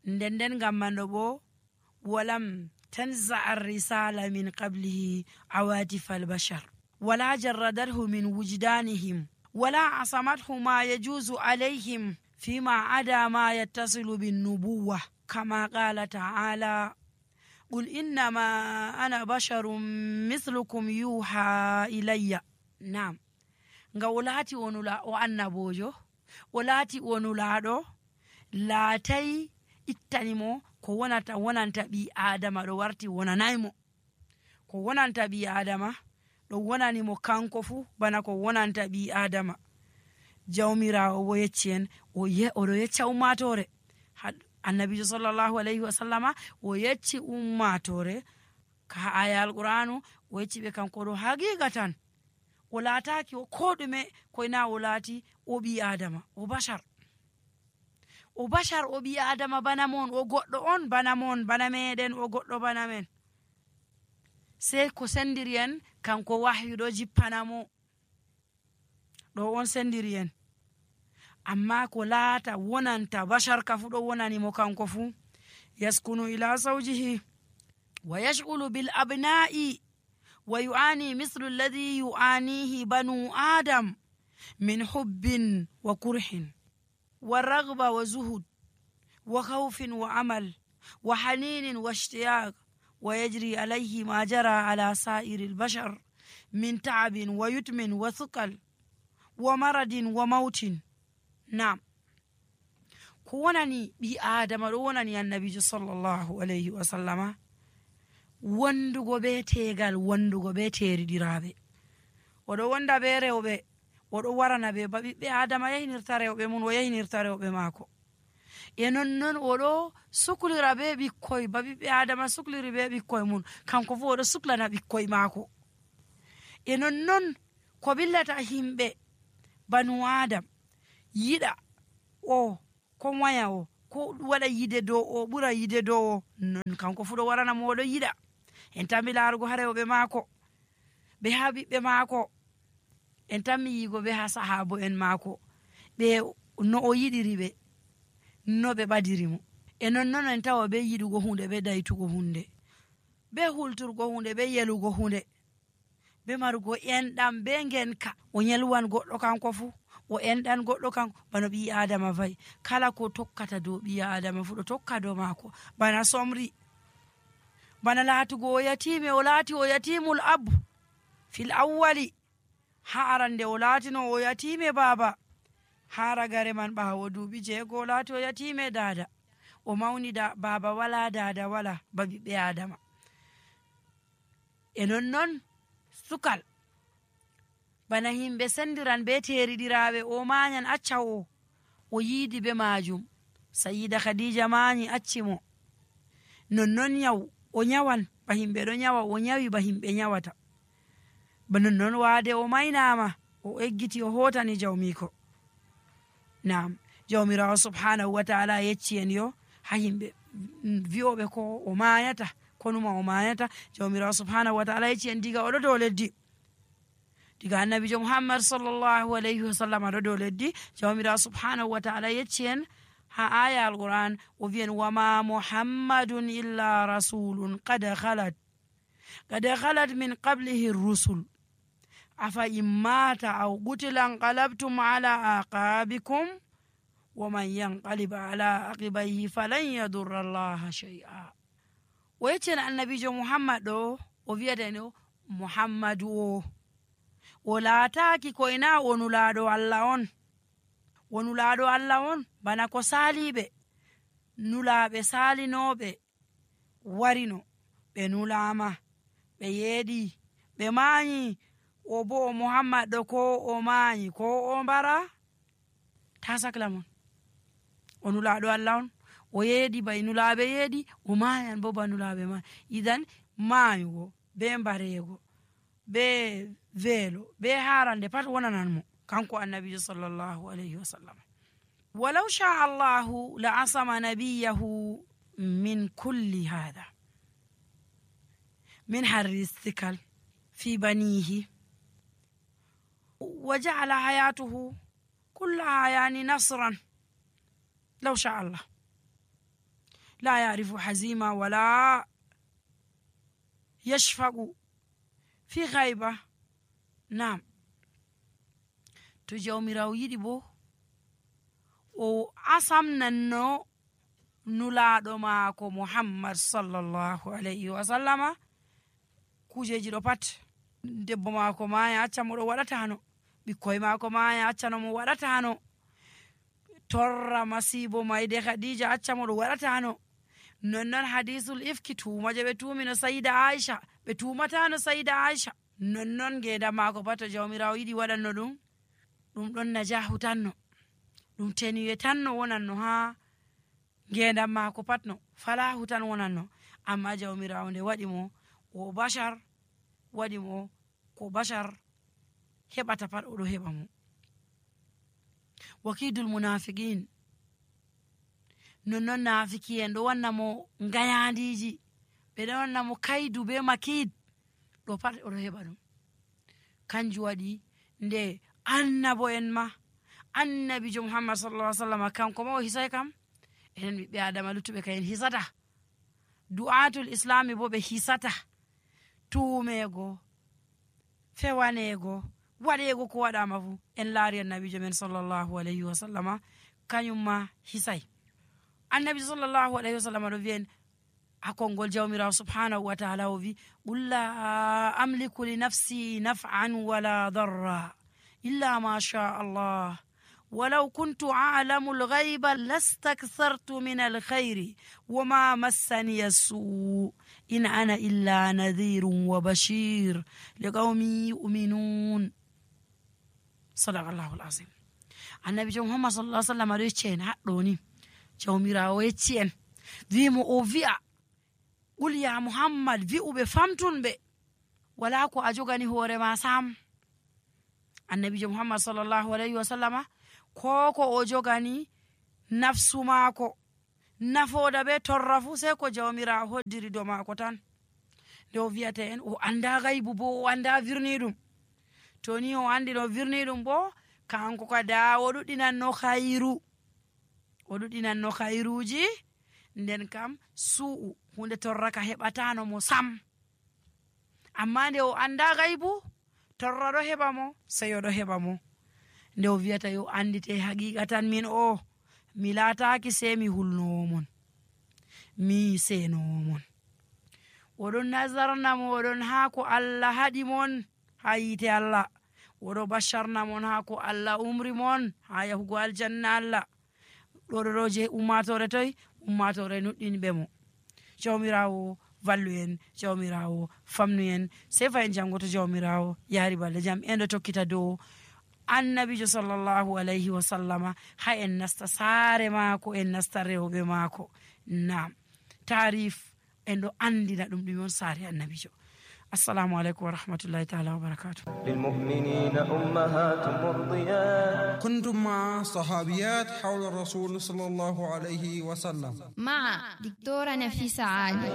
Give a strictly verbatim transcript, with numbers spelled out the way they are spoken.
Nden nden ngam man ɗo bo, ولم تنزع الرسالة من قبله عواطف البشر، ولا جردته من وجدانهم، ولا عصمته ما يجوز عليهم فيما عدا ما يتصل بالنبوة، كما قال تعالى: قل إنما أنا بشر مثلكم يوحى إلي. Naam. Nga o laati o nula-, o annaboojo, o laati o nulaaɗo, laatay ittani mo ko wonata, wonanta ɓii Aadama ɗo warti wonanay mo. Ko wonanta ɓii Aadama ɗo wonani mo kanko fuu bana ko wonanta ɓii Aadama. Jawmiraawo o yecci en, o ye-, o ɗo yecca ummaatoore. Had-, Annabiijo sallallahu alayhi wa sallama o yecci ummaatoore ka aya Alqur'aanu, o yecci ɓe kanko ɗo haqiiqatan. O laataaki o koo ɗume, koy na o laati o ɓii Aadama, o bashar. O bashar, o ɓii Aadama bana mon, o goɗɗo on bana mon, bana meɗen, o goɗɗo bana men. Sey ko sendiri en, kanko wahyu ɗo jippana mo. Ɗo on sendiri en. Amma ko laata wonanta bashar ka fu ɗo wonani mo kanko fu. يسكن إلى زوجه ويشغل بالأبناء ويعاني مثل الذي يعانيه بنو آدم من حب وكره ورغبة وزهد وخوف وأمل وحنين واشتياق، ويجري عليه ما جرى على سائر البشر من تعب ويتم وثقل ومرض وموت. Naam. Ko wonani ɓii Aadama ɗo wonani Annabiijo sallallahu alayhi wa sallama, wondugo bee teegal, wondugo bee teeriɗiraaɓe. O ɗo wonda bee rewɓe, o ɗo warana ɓe ba ɓiɓɓe Aadama yahinirta rewɓe mum, o yahinirta rewɓe maako. E nonnon o ɗo suklira bee ɓikkoy, ba ɓiɓɓe Aadama sukliri bee ɓikkoy mum, kanko fuu o ɗo suklana ɓikkoy maako. E nonnon ko ɓillata yimɓe banu Aadam, yiɗa o, ko waya o, ko waɗa yiɗde dow o, ɓura yiɗde dow o, non kanko fuu ɗo warana mo o ɗo yiɗa. En tammi laarugo haa rewɓe maako, ɓe haa ɓiɓɓe maako. En tammi yi'ugo ɓe haa sahaabo'en maako, ɓe no o yiɗiri ɓe, no ɓe ɓadiri mo. E nonnon en tawa ɓe yiɗugo huunde, ɓe daytugo huunde, ɓe hulturgo huunde, ɓe yelugo huunde, ɓe marugo enɗam, ɓe ngenka. O yelwan goɗɗo kanko fuu, o enɗan goɗɗo kanko, bano ɓii Aadama va'i. Kala ko tokkata dow ɓii Aadama fuu ɗo tokka dow maako. Bana somri, bana laatugo o yatiime, o laati o yatiimul ab fil awwali. Haa arande o laatino o yatiime baaba. Haa ragare man ɓaawo duuɓi jeego o laati o yatiime daada. O mawni da-, baaba walaa, daada walaa, ba ɓiɓɓe Aadama. E nonnon sukal, bana yimɓe sendiran bee teeriɗiraaɓe, o maanyan acca o, o yiidi bee maajum. Sayiida Khadiija maanyi acci mo. Nonnon nyaw, o nyawan ba yimɓe ɗo nyawa, o nyawi ba yimɓe nyawata. Ba nonnon waade o maynaama, o eggiti o hootani jawmiiko. Naam, Jawmiraawo subhaanahu wa ta'ala yecci en yo haa yimɓe, mm, vi'ooɓe ko o maayata, ko numa o maayata. Jawmiraawo subhaanahu wa ta'ala yecci en diga o ɗo dow leddi. Diga Annabiijo Muhammad sallallahu alayhi wa sallam ɗo dow leddi, Jawmiraawo subhaanahu wa ta'ala yecci en haa aya Alqur'aan, o vi'i en: "Wa ma Muhammadun illa rasulun qad khalat, qad khalat min qablihi rusul. Afa in mata aw qutila inqalabtum ala aqabikum, wa man yanqalib ala aqibayhi falan yadurra Allaha shay'a." O yecci en Annabiijo Muhammad ɗo, o vi'ata en o Muhammadu o. O laataaki koy na o nulaaɗo Allah on. O nulaaɗo Allah on, bana ko saaliiɓe, nulaaɓe saalinooɓe warino, ɓe nulaama, ɓe yeeɗi, ɓe maanyi. O bo o Muhammad ɗo, ko o maanyi, ko o mbara, taa sakla mon. O nulaaɗo Allah on, o yeeɗi ba e nulaaɓe yeeɗi, o maayan bo ba nulaaɓe maayi. Idan, maayugo, be mbareego, be weelo, be haarande pat wonanan mo, kanko Annabiijo sallallahu alayhi wa sallam. Walaw sha Allahu la asama nabiyahu min kulli hada, min harri sikal fi banihi, wa ja'ala hayatuhu kullaha, yani, nasran. Law sha Allah. لا يعرف حزيما ولا يشفق في غيبة. Naam. To Jawmiraawo yiɗi boo, o asamnanno Nulaaɗo maako Muhammad sallallahu alayhi wa sallama kujeeji ɗo pat. Debbo maako maaya, acca mo ɗo waɗataano. Ɓikkoy maako maaya, acca no mo waɗataano. Torra masiibo mayde Khadija, acca mo ɗo waɗataano. Nonnon hadiisul ifki, tuuma je ɓe tuumino Sayida Aisha, ɓe tuumataano Sayida Aisha. Nonnon ngeendam maako pat, to Jawmiraawo yiɗi waɗanno ɗum, ɗum ɗon najaahu tanno. Ɗum tenuye tanno wonanno haa ngeendam maako pat no. Falaahu tan wonanno. Amma Jawmiraawo nde waɗi mo, o bashar, waɗi mo ko bashar heɓata pat, o ɗo heɓa mo. Wakiidul munaafiqiin. Nonnon naafiki'en ɗo wanna mo ngayaandiiji, ɓe ɗo wanna mo kaydu bee makiid. Ɗo pat o ɗo heɓa ɗum. Kanjum waɗi nde annabo en ma, annabiijo Muhammad sallallahu alaihi wasallam, kanko ma o hisay kam. Enen ɓiɓɓe Aadama luttuɓe kay en hisata. Du'aatul Islaami boo ɓe hisata. Tuumeego, fewaneego, waɗeego ko waɗaama fuu. En laari annabiijo men sallallahu alaihi wasallama, kañum ma hisay. Annabiijo sallallahu alaihi wasallama ɗo wi'en, haa konngol Jawmiraawo subhaanahu wa ta'ala o wi, "Qul la amliku li nafsi naf'an wala darra illa ma sha Allah. Walaw kuntu a'lamu al-ghayba lastakthartu min al-khayri wa ma massaniya as-su'. In ana illa nadhirun wa bashir li qawmin yu'minun." Sadaqallahul azim. Annabiijo Muhammad sallallahu alaihi wasallam ɗo yecci en haɗɗo ni. Jawmiraawo yecci en. Wi mo o wi'a, "Qul ya Muhammad, wi'u ɓe, famtun ɓe. Walaa ko a jogani hoore ma sam." Annabiijo Muhammad sallallahu alaihi wasallama, ko ko o jogani nafsu maako, nafooda bee torra fuu, sey ko Jawmiraawo hoddiri dow maako tan. Nde o wi'ata en, o anndaa gaybu boo, o anndaa wirniiɗum. To ni o anndi no wirniiɗum boo, kanko ka daa o ɗuɗɗinanno khayru. O ɗuɗɗinanno khayruuji, nden kam su'u, huunde torra ka heɓataano mo sam. Amma nde o anndaa gaybu, torra ɗo heɓa mo, seyo ɗo heɓa mo. Nde o wi'ata yo anndite haqiiqa tan min o, mi laataaki sey mi hulnoowo mon. Mi seenoowo mon. O ɗon nazarna mo, o ɗon haa ko Allah haɗi mon haa yiite Allah. O ɗo basharna mon haa ko Allah umri mon haa yahugo aljanna Allah. Ɗo ɗo ɗo je ummaatoore toy, ummaatoore nuɗɗinɓe mo. Jawmiraawo vallu en, Jawmiraawo famnu en, sey fa en janngo to Jawmiraawo yaari balɗe jam. En ɗo tokkita dow Annabiijo sallallahu alayhi wa sallama, haa en nasta saare maako, en nasta rewɓe maako. Naam, taarif en ɗo anndina ɗum ɗum on saare Annabiijo. Assalamu aleykum wa rahmatullahi taala wa barakatuh. للمؤمنين أمهات مرضيات. كنتم مع صحابيات حول الرسول صلى الله عليه وسلم. مع دكتورة نفيسة عالي.